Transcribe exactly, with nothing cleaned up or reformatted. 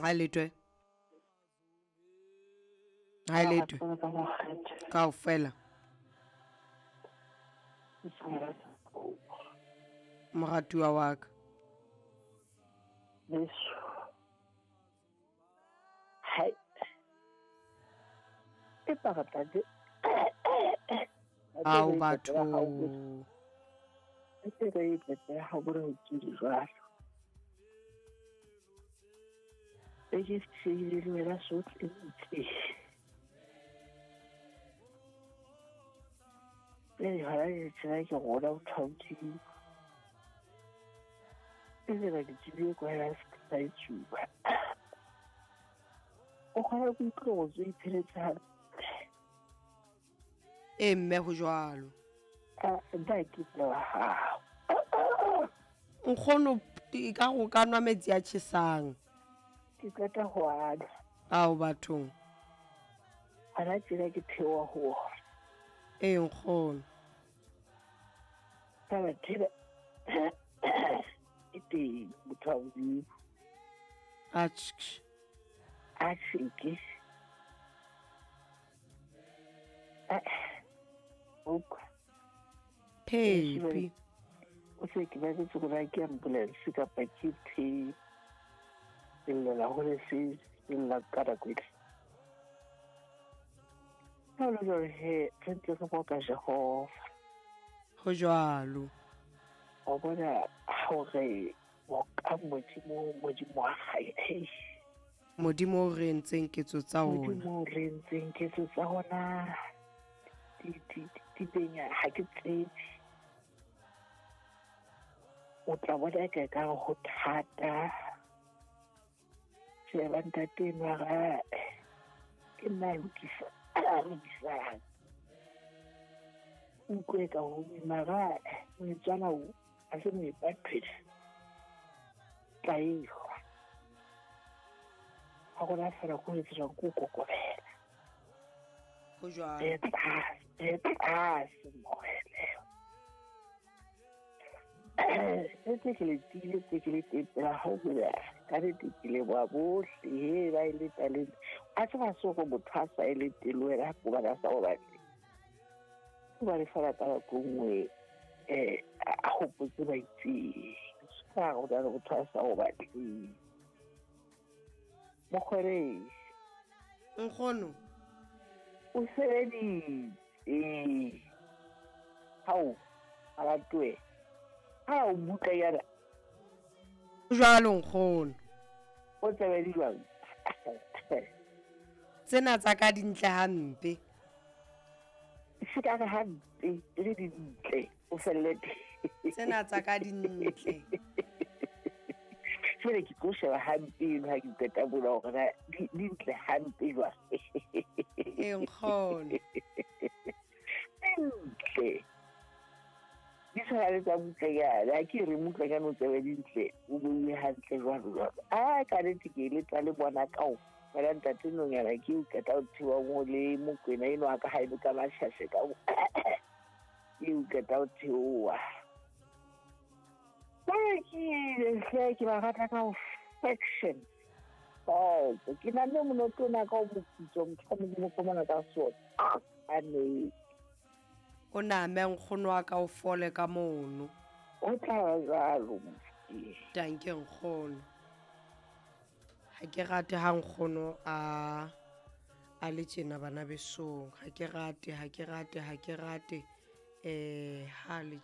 Ha letwe. Ha letwe. Kaofela. Moratuwa wa ka. Beso. Hai. Empa re tla di Ao batho. Re tla ha bore ke di jwalo. E ke se le wena sohle ntse. Le hara ke tsela ke rona o thaothi. E le ke tsebe kwa ya se tsuba. O kgona go utlwa go tswe ipheletse hantle. E mme ho jwalo. A nna ke tla ha. Nkgono e ka go ka nwa metsi a tjhesang. Ke qeta ho ana. Ao bathong. Ana tsela ke theoha ho. E nkgono. Taba theba. E teng motho wa Modimo. Atjhe. Atjhe ke. Ok. Phepi. O se ke ba ke tsora ke ambulance kapa ke the. Lla hore se lla ka ra kwetla. Ha lo jwalo he, re ntse re boka Jehova. Ho jwalo. O bona hore boka Modimo, Modimo wa hae. Modimo o re entseng ketso tsa ona. Modimo o re entseng ketso tsa ona. Di di di benya ha ke tsebe. O tla bona ka ka ho thata. Sheba ntate enwa ga ke nna lokisa lokisang. Utlwe ka ho mara motswana o a se mo ipaphela. Tla ehwa. Ha gona fela go etsa go kokobela. Ho jwalo. E tlase, e tlase moele. E tse ke le tile, tse ke le tepela ho bula. Ka nnete ke leboha bohle he ba e le talente. A tseba se hore motho a sa e le teng wena hobane a sa o batle. Hobane fela ka nako e nngwe eh a hopotse ba itseng. Ka hore o motho a sa o batleng. Mokgwere. Nkgono. O sebeditse. Hao, a Ha o butla yana. Jwalo nkgono. O tsebe jwang? Tsena tsa ka dintle hampe. Se ka re hampe, le dintle, o felle teng. Tsena tsa ka dintle. Jwale ke tlo sheba hampe eno ha ke qeta mona hore na di dintle hampe jwang. E nkgono. Dintle. Di tshwana le tsa Mmutlanyana. Ha ke re Mmutlanyana o tsebe dintle, o beuwe hantle jwalo jwalo. Ah, ka nnete ke eletsa le bona kaofela ntate nonyana ke o qeta ho theoha mo le Mokwena enwa ka haeno ka Mashashe ka ke o qeta ho theoha. Ke hle ke ba rata ka perfection. Oh, ke na le monoto ona ka o moputso motho wa Modimo ko mona ka sona. A ne O name nkgono wa ka o fole ka mono. O tla ba jwalo mofti. Danke nkgono. Ha ke rate ha nkgono a a le tjena bana besong. Ha ke rate, ha ke rate, ha ke rate eh ha le